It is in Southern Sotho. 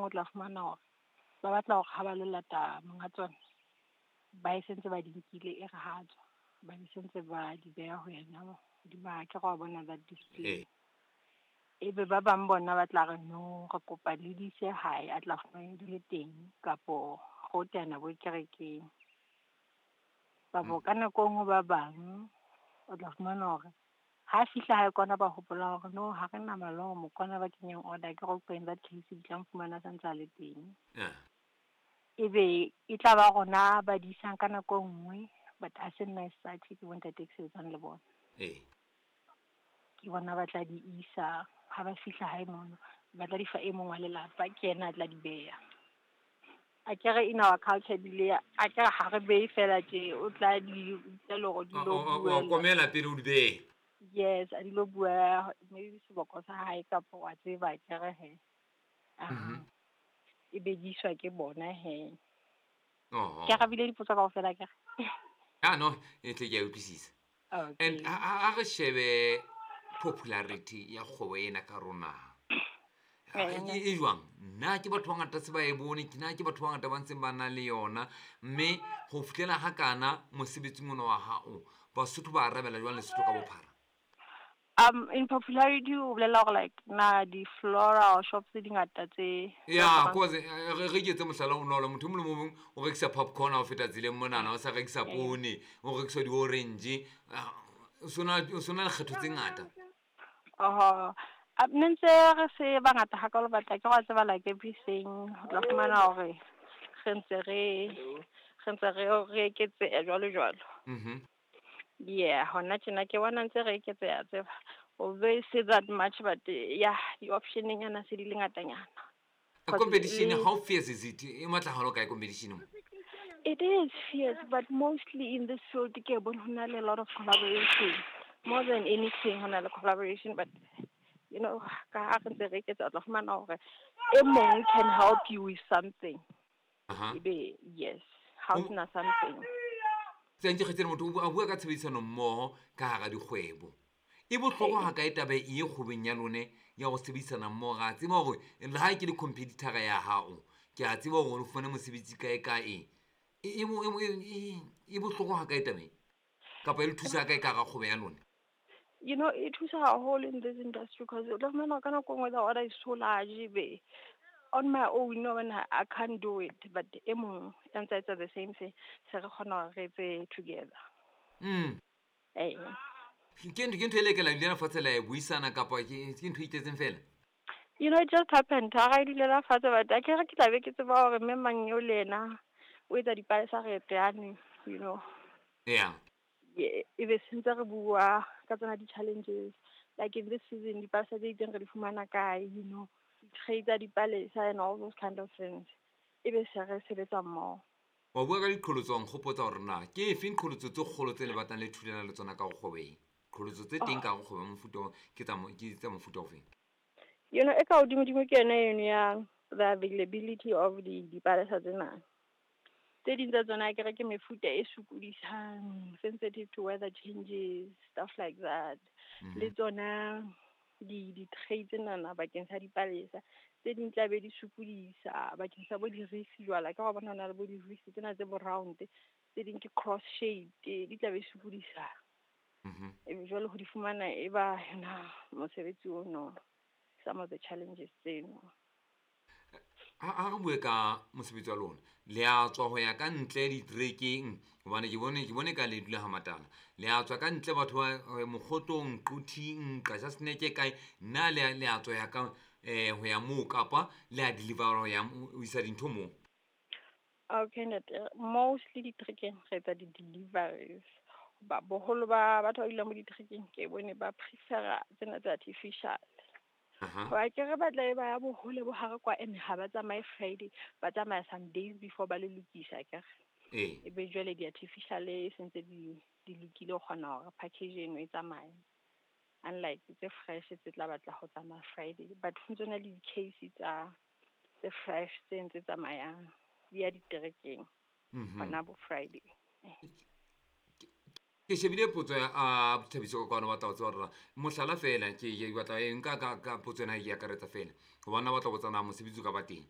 nngwe o tla fumana hore ba batla hore ha ba lo lata monga tsona, ba e sentse ba di nkile e re ha tswa, ba di sentse ba di beha ho yena hodima, akere wa bona that display. Ebe ba bang bona ba tla re no, re kopa le di ise hae, a tla fumana di le teng, kapo go teana bo kerekeng. Kapo ka nako e nngwe ba bang o tla fumana hore ha fihla hae kwana ba hopola hore no, ha re na malomo, kwana ba kenyang order, ke re in that case di tla fumana santse a le teng. Ebe e tla ba rona ba di isang ka nako e nngwe, but ha se nna as such, ke bontate ke sebetsang le bona. Ke bona ba tla di isa, ha ba fihla hae mono, ba tla di fa e mong wa lelapa, ke yena a tla di beha. Akere in our culture ebile akere ha re behe fela tje, o tla di tla le hore di lo Wa buela. Komela pele o di behe. Yes, a di lo bua maybe seboko sa hae kapa wa tseba akere he. Aha. E be di iswa ke bona he. Ke arabile dipotso kaofela akere? Ah no, e tle ke a utlwisisa. Okay. And ha re shebe popularity ya kgwebo ena ka rona. E jwang? Nna ke batho ba ngata se ba e bone, ke na ke batho ba ngata ba ntseng ba na le yona, mme ho fihlela ha kana mosebetsing ona wa hao, Basotho ba arabela jwang Lesotho ka bophara? In popularity o bolela hore like na di-floral shops tse dingata tse Ya, cause re ke etse mohlala o bonolo, motho e mong le mong o rekisa popcorn ha o feta tseleng monana, o sa rekisa poone, o rekisa di-orange, o sona le kgetho tse ngata. Oho. Ne ntse re se bangata hakalo, but ke wa tseba like everything, o tla fumana hore re ntse re eketseha jwalo jwalo. Yeah, hona tjena ke bona ntse re eketseha tseba. Although say that much, but yeah, di-option nyana se di le ngatanyana. Competition, how fierce is it? E matla haholo kae competition mo? It is fierce, but mostly in this field ke bona ho na le a lot of collaboration. More than anything ho na le collaboration, but you know, ka ha re ntse re eketsa, o tla fumana hore e mong can help you with something. Ebe yes, ha o sena something. Tse ntse kgetseng motho a bua ka tshebedisano mmoho ka hara dikgwebo. E bohlokwa ha kae taba e kgwebong ya lone ya ho sebedisana mmoho? Ra tseba hore le ha ke le competitor ya hao, ke a tseba hore o fumane mosebetsi kae kae. E bohlokwa ha kae taba e? Kapa e le thusa kae ka hara kgwebo ya lona? You know, e thusa haholo in this industry because o tla fumana ka nako e nngwe the order is so large, be on my own, no, when I can't do it, but e mong ya ntsa etsa the same thing, se re kgona hore re etse together. Ke ntho e le ke la dulela fatshe la e buisana kapa ke ntho e itletseng fela? You know, it just happened. Ha re dulela fatshe, but akere ke tla be ke tseba hore mme mang eo le yena o etsa dipalesa re teane, you know. Yeah. Yeah, e be sentse re bua ka tsona di-challenges, like in this season dipalesa tse itseng re di fumana kae, you know, di-tray tsa dipalesa and all those kind of things. E be se re sebetsa mmoho. Wa bua ka diqholotso, wa nkgopotsa hore na ke efeng qholotso tse kgolo tse le batlang le thulana le tsona ka ho kgwebo e? Qholotso tse teng ka ho kgwebo mofuta ke tsa mofuta ofeng? You know, e ka hodimodimo ke yona eno ya the availability of dipalesa tsena. Tse ding tsa tsona akere ke mefuta e sokodisang, sensitive to weather changes, stuff like that. Le tsona di-tray tsenana bakeng sa dipalesa, tse ding tla be di sokodisa bakeng sa bo di-wreath jwalo. Ka wa bona hona le bo di-wreath tsena tse bo round, tse ding ke cross shape, di tla be sokodisa. Ebe jwale ho di fumana e ba yona mosebetsi ono, some of the challenges tseno. Ha re bue ka mosebetsi wa lona, le a tswa ho ya ka ntle diterekeng, hobane ke bone ka le dula ha Matala. Le a tswa ka ntle batho ba Mokgotlong, Quthing, Qachaseneke kae, na le a tswa ya ka ho ya moo kapa le a deliver ho ya ho isa dintho moo? Okay, ntate, mostly diterekeng re etsa di-deliveries. Ba boholo ba batho ba dulang mo diterekeng ke bone ba prefera tsena tse artificial. Hoba ke re batla e ba ya bohole bo hare kwa, and ha ba tsamaye Friday, ba tsamaya some days before ba le lokisa akere. Ebe jwale di-artificial e sentse di lokile ho kgona hore package eno e tsamaye. Unlike tse fresh tse tla batla ho tsamaya Friday, but ho ntso na le di-case tsa tse fresh tse ntse tsamayang di ya diterekeng hona bo Friday. Ke shebile potso ya Thabiso ka kwano, batla ho tseba hore mohlala fela ke batla e nka ka potso ena e akaretsa fela, hobane ba batla ho botsa na mosebetsi o ka ba teng.